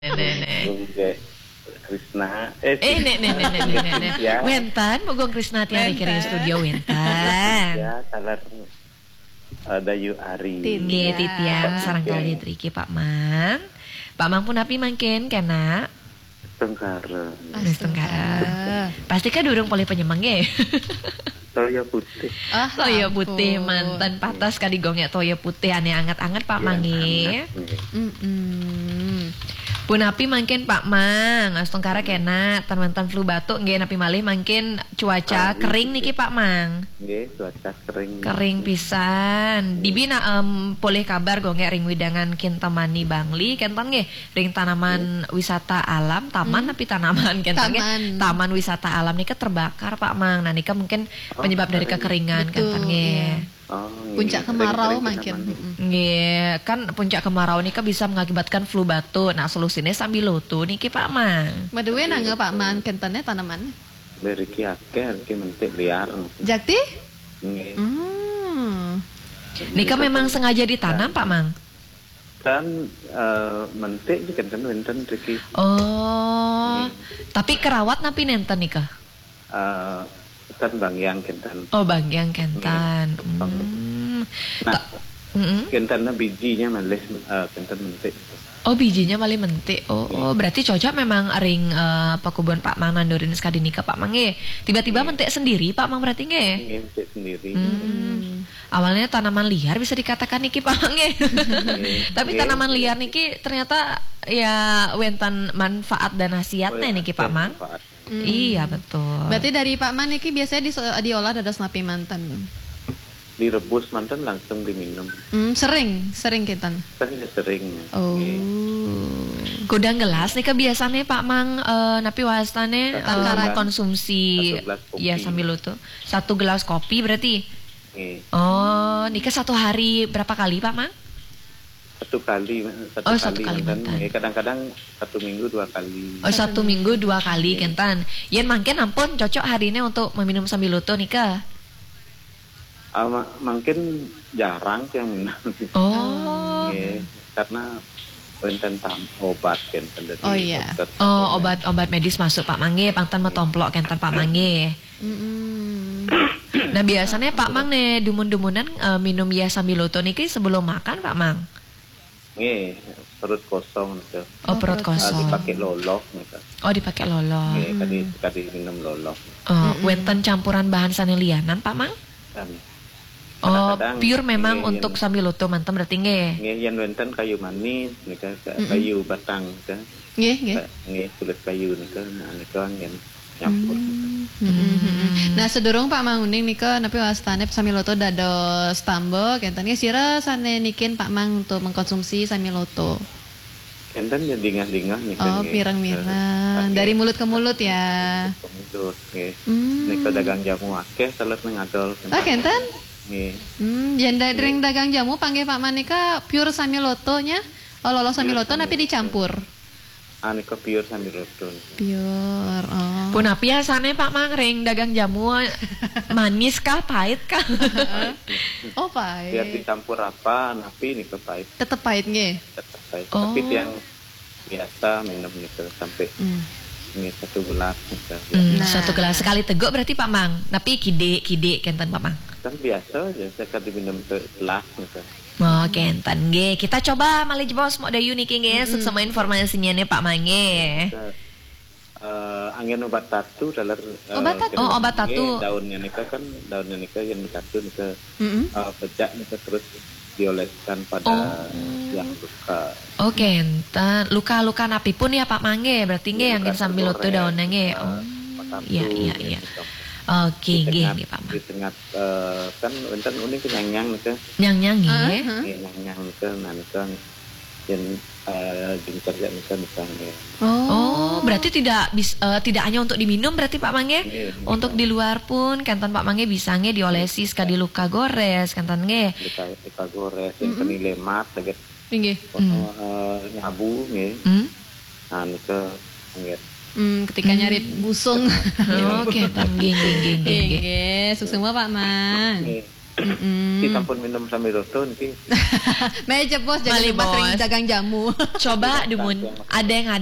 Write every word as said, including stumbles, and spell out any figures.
Nenek. Krisna. Eh, eh, nek, nek, nek, nek, nek, nek. Ya. Wenten, Mugong Krisna tiang riki ring studio wenten. Ya, salah, eh, Dayu Ari. Nggih, titiang sareng kalih riki, Pak Mang. Pak Mang punapi mangkin, kena? Astungkara. Astungkara. Pasti ka durung polih panyemeng, nggih? Toya putih. Ah, toya putih, ampun. Manten patas kadi gongek toya putih, ane anget-anget, Pak Mang, nggih. Anget, nggih. Mm-mm. Punapi mangkin, Pak Mang? Astungkara kena, ten wenten flu batuk, nggih, napi malih mangkin cuaca kering niki, Pak Mang? Nggih, cuaca kering. Kering pisan. Dibi nak, em, polih kabar gongek ring wewidangan Kintamani Bangli, kenten nggih, ring tanaman wisata alam, taman napi tanaman, kenten nggih? Taman. Taman wisata alam nika terbakar, Pak Mang. Nah, nika mungkin penyebab dari kekeringan, kenten nggih? Oh, nggih. Puncak kemarau mungkin. Mm-mm. Nggih, kan puncak kemarau nika bisa mengakibatkan flu batuk. Nah, solusine sambiloto niki, Pak Mang. Maduwe nangge, Pak Mang, kentene tanaman? Mriki akeh, mriki mentik liar. Jakti? Nggih. Hmm. Nika memang sengaja ditanam, Pak Mang? Kan, eh, mentik niki kan wenten mriki. Oh, tapi kerawat napi nenten nika? Eh, kan bangyang kenten. Oh, bangyang kenten. Nggih. Hmm. Nah, kenten bijinya malih, eh, kenten mentik. Oh, bijinya malih mentik. Oh, oh, berarti cocok memang ring, eh, pakubon Pak Mang nandurin sekadi nika, Pak Mang, nggih. Tiba-tiba mentik sendiri, Pak Mang, berarti, nggih? Nggih, mentik sendiri. Hmm. Awalnya tanaman liar bisa dikatakan niki, Pak Mang, nggih. Tapi tanaman liar niki ternyata ya wenten manfaat dan khasiatnya niki, Pak Mang. Iya, betul. Berarti dari Pak Mang niki biasanya diso-, diolah dados napi manten? Direbus manten langsung diminum. Hmm, sering, sering kenten? Sering, sering. Oh. Nggih. Kudang gelas nika biasanya, Pak Mang, eh, napi wastane, eh, konsumsi satu gelas kopi. Ya, sambiloto. Satu gelas kopi berarti? Nggih. Oh, nika satu hari berapa kali, Pak Mang? Satu kali, satu kali manten. Oh, satu kali manten. Nggih, kadang-kadang satu minggu dua kali. Oh, satu minggu dua kali, nggih, kenten. Yen mangkin ampun cocok harine untuk meminum sambiloto nika? Ah, ma-, mungkin jarang sih yang minum. Oh. Nggih, karena wenten tam-, obat kenten dari dokter. Oh, iya. Oh, obat, obat medis masuk, Pak Mang, nggih, pang ten matomplok kenten, Pak Mang, nggih. Mm-mm. Nah, biasanya Pak Mang ne dumun-dumunan, eh, minum ya sambiloto niki sebelum makan, Pak Mang? Nggih, perut kosong nika. Oh, perut kosong. Ah, dipakai loloh nika. Oh, dipakai loloh. Nggih, kadi, kadi minum loloh. Oh, wenten campuran bahan sane lianan, Pak Mang? Kan. Oh, kadang-kadang pure memang nggih, untuk sambiloto manten berarti nggih? Nggih, yen wenten kayu manis nika, ka-, kayu batang nika. Nggih, nggih. Ka-, nggih, kulit kayu nika, nah, nika anggen nyampur. Hmm. Mm-mm. Nah, sedurung Pak Mang uning nika, napi wastane sambiloto dados tamba, kenten nggih, sira sane nikin Pak Mang untuk mengkonsumsi sambiloto? Kenten ya dingah-dingah nika. Oh, nggih. Pireng-mireng. Dari mulut ke mulut ya. Mulut ke mulut, nggih. Hmm. Nika dagang jamu akeh, salet ngadol. Oh, kenten? Nggih. Hmm, yen da-, ring dagang jamu panggih Pak Mang nika pure sambiloto nya? Oh, loloh sambiloto napi dicampur? Ah, nika pure sambiloto. Pure, oh. Punapi asane, Pak Mang, ring dagang jamu, manis kah, pahit kah? Oh, pahit. Biar dicampur apa, napi nika pahit. Tetep pahit nggih? Tetep pahit. Oh. Tapi tiang biasa minum nika sampai nggih satu gelas nika. Hmm, satu gelas. Sekali teguk berarti, Pak Mang. Napi kidik-kidik kenten, Pak Mang? Kan biasa aja, sekali minum segelas nika. Oh, kenten nggih. Kita coba malih jebos Mok Dayu niki nggih, suksema informasinya nih, Pak Mang nggih. Eh, anggen obat tatu taler, eh, obat tatu. Oh, obat tatu. Nggih, daunnya nika kan, daunnya nika yang tatu nika, eh, pecak nika terus dioleskan pada yang luka. Oh, kenten. Luka-luka napi pun ya, Pak Mang nggih, berarti nggih, luka yang sambiloto daunnya nggih. Oh, iya, iya, iya. Oke, nggih, nggih, Pak Mang. Di tengah, eh, kan wenten uning kenyang-nyang nika. Nyang-nyang nggih. Nggih, nyang-nyang nika, nah nika yen, eh, gincer ya nika, nika nggih. Oh, berarti tidak bis-, eh, tidak hanya untuk diminum berarti, Pak Mang nggih? Nggih, nggih. Untuk di luar pun kenten, Pak Mang nggih, bisa nggih diolesi sekadi luka gores kenten nggih. Luka, luka gores, yang keni lemat, sakit. Inggih. Oh, eh, nyabu nggih. Hmm. Nah, nika nggih. Hmm, ketika nyari busung. Oh, kenten nggih, nggih, nggih, nggih. Inggih, suksema Pak Mang. Nggih. Mm-mm. Kita pun minum sambil roto niki. Meja bos, jangan Malih, lupa sering Bos. dagang jamu. Coba dumun ada yang